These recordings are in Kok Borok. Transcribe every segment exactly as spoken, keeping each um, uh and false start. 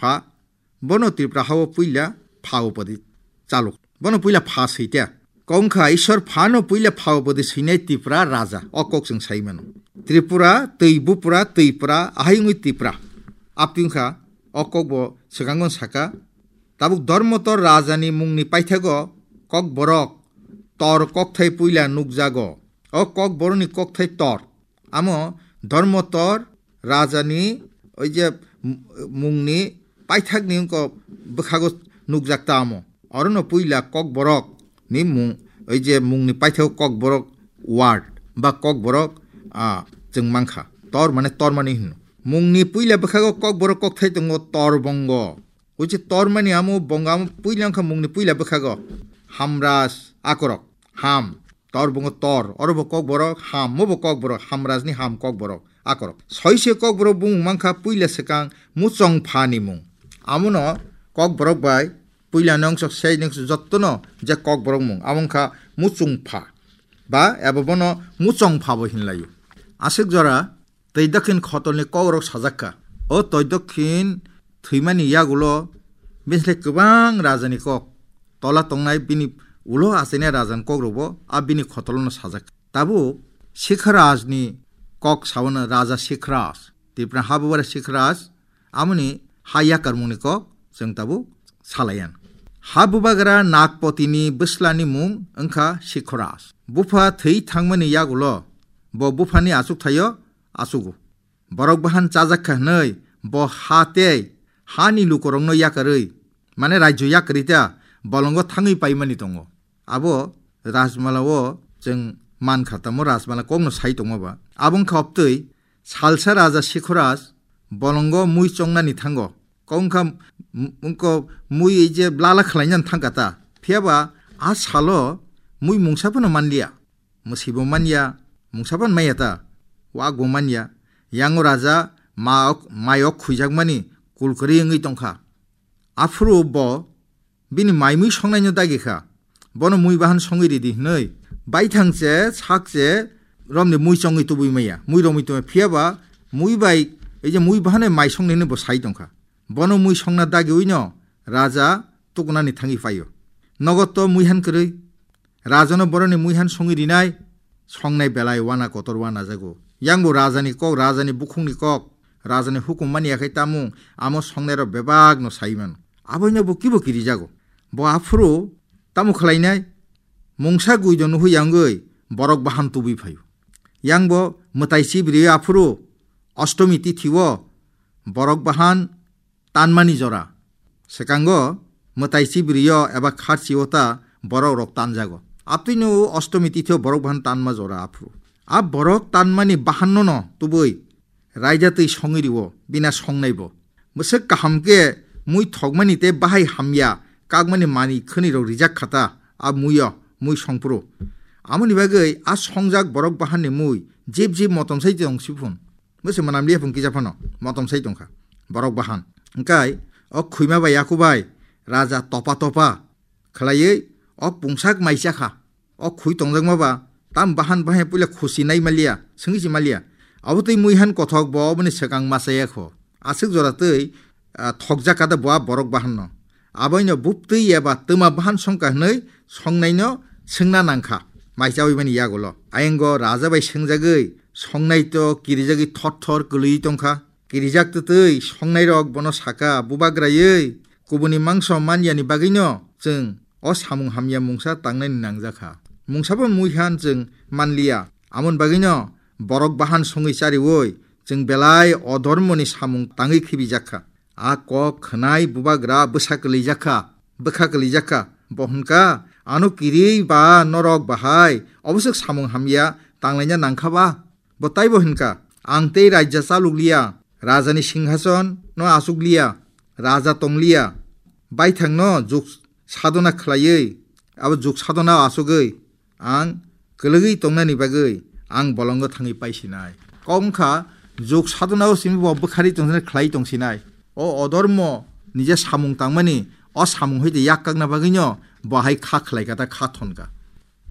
Pha, bono Tripura hao puila pha upadi chaluk. Bono puila pha swi ta. Kok wngkha Ishwar phano puila pha upadi swinai Tripura raja. O kok chwng sai mano. Tripura, twi bupura, twipra, ahai wngwi Tripura. Aptwi wngkha, o kok bo swkango saka. Tabuk Dharmotor rajani mungni paithago Kokborok tor kokthai puila nukjago. O Kokborokni kokthai tor. Amo Dharmotor rajani oi je m-, mungni paithakni wngkha bwkhago nukjak ta amo. Orono puila Kokborok ni mung, oi je mungni paithak Kokborok ward ba Kokborok, ah, chwng mankha. Tor mane tormani hino. Mungni puila bwkhago Kokborok kokthai tongo Torbongo. Oi je tormani amo bongo amo puila wngkha mungni puila bwkhago Hamraj akorok. Ham. Tor bungo tor, oro bo Kokborok, ham, mo bo Kokborok, Hamrajni ham Kokborok, akorok. Soise Kokborok bumung mankha puila swkang Muchongpha ni mung. Amono Kokborok bai puila nongsok sei nongsok jottono je Kokborok mung, amo wngkha Muchungpha. Ba ebo bono Muchongpha bo hinlaio. Aswk jora Twi dokhin khotolni kokrok sajakha. O twi dokhin thwimani yagulo bini kwbang rajani kok tola tongnai, bini ulo achainai rajani kokrokbo a bini khotolono sajak. Tabuk Sikharajni kok saono, Raja Sikharaj, Tipra habubara Sikharaj, amoni ha yakarmungni kok chwng tabuk salaiyan. Ha bubagra Nagpotini bwslani mung wngkha Sikharaj. Bupha thwi thangmani yagulo bo buphani achuk thaio achugo. Borok bahan chajak kha hwnwi bo ha tei hani lukurokno yakarwi, mane rajyo yakarwi ta bolongo thangwi paimani tongo. Abo Rajmala o chwng man kha, tamo Rajmala kokno sai tongma ba. Abo wngkha obtwi salsa Raja Sikhoraj bolongo mui chongnani thango. Kok wngkha m-, wngkha mui ei je blala khlainani thangkha ta. Phiyaba a salo mui mungsa phano manliya. Mwswibo manya, mungsa phano manya ta. Wak bo manya. Yango raja ma-, mai ok khwijakmani kulkwrwi wngwi tongkha. Aphuru bo bini mai mui songnaino dagi kha. Bono mui bahan songwi ridi hwnwi baithang che, sak che, romni mui chongwi tubui maya, mui romwi tubui maya. Phiyaba mui bai, ei je mui bahan mai songnai hwnwi bo sai tongkha. Bono mui songna dagiwino raja tukunani thangwi phaio. Nogo to mui han kwrwi. Rajano boroni mui han songwi rinai, songnai belai wana kotor wana jago. Yang bo rajani kok, rajani bukhukni kok, rajani hukum mani yakhai tamung, amo songnairok bebakno sai mano. Aboino bo kibo kirijago. Bo aphuru tamo khlainai, mungsa guido nuhwi yangwi borok bahan tubui phaio. Yang bo mwtai chibri aphuru Ostomi tithio borok bahan tanmani jora. Swkango mwtai chibrio eba kharchio ta borok rok tanjago. Abtwino Ostomi tithio borok bahan tanma jora aphuru. A borok tanmani bahanno no tubui raida twi songwi rio, bina songnai bo. Bwswk kaham khe mui thokmani tei bahai hamya kakmani manwi khwnwi rok rijak khata a muio, mui songphuru. Amoni bagwi a songjak borok bahanni mui jeb jeb motom sai tong siphun. Bwswk mwnam liya phung kisa phano motom sai tongkha borok bahan. Hwnkhe o khwima bai yaku bai raja topa topa khlaiwi o pungsak mai chakha. O khwi tongjakma ba tam bahan bahai puila khusi nai maliya, swngwi si maliya. Abo twi mui han kothok bo oboni swkang machaya kho. Aswk jora twi, ah, thokjak kata bo a borok bahanno. Aboino buptwi eba twma bahan songkha hwnwi songnaino swngna nangkha. Mai chawi mani yagulo. Ayengo raja bai swngjagwi songnai to kirijagwi thor thor kwlwi tongkha. Kirijak twtwi songnairok bono saka, "Bubagraiwi kubuni mangso manyani bagwino chwng o samung hamya mungsa tangnaini nangjak kha. Mungsa bo mui han chwng manliya." Amoni bagwino borok bahan songwi chariwi chwng belai odormoni samung tangwi khibijak kha. A kok khwnai bubagra bwsa kwlijak kha, bwkha kwlijak kha. Bo hwn kha, "Ano kiriwi ba norok bahai oboswk samung hamya tanglaina nangkha ba?" Bo taibo hwn kha, "Ang tei raija chaluk liya, rajani singhason no achuk liya, raja tong liya, baithang no juk sadona khlaiwi, abo juk sadona achugwi ang kwlwgwi tongnani bagwi ang bolongo thangwi paisinai." Kok wngkha, juk sadona o simi bo bwkhari tongsinai, khlai tongsinai. O odormo nije samung tangmani, o samung hoite yak kakna bagwino bo hai kha khlai kha ta, kha thon kha.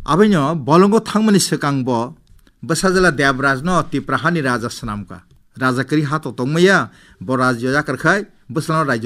Aboino bolongo thangmani swkang bo bwsajla Debrajno Tipra hani raja swnam kha. Raja kwrwi ha to tongmaya, bo rajyo yakar khai bwsano rajyo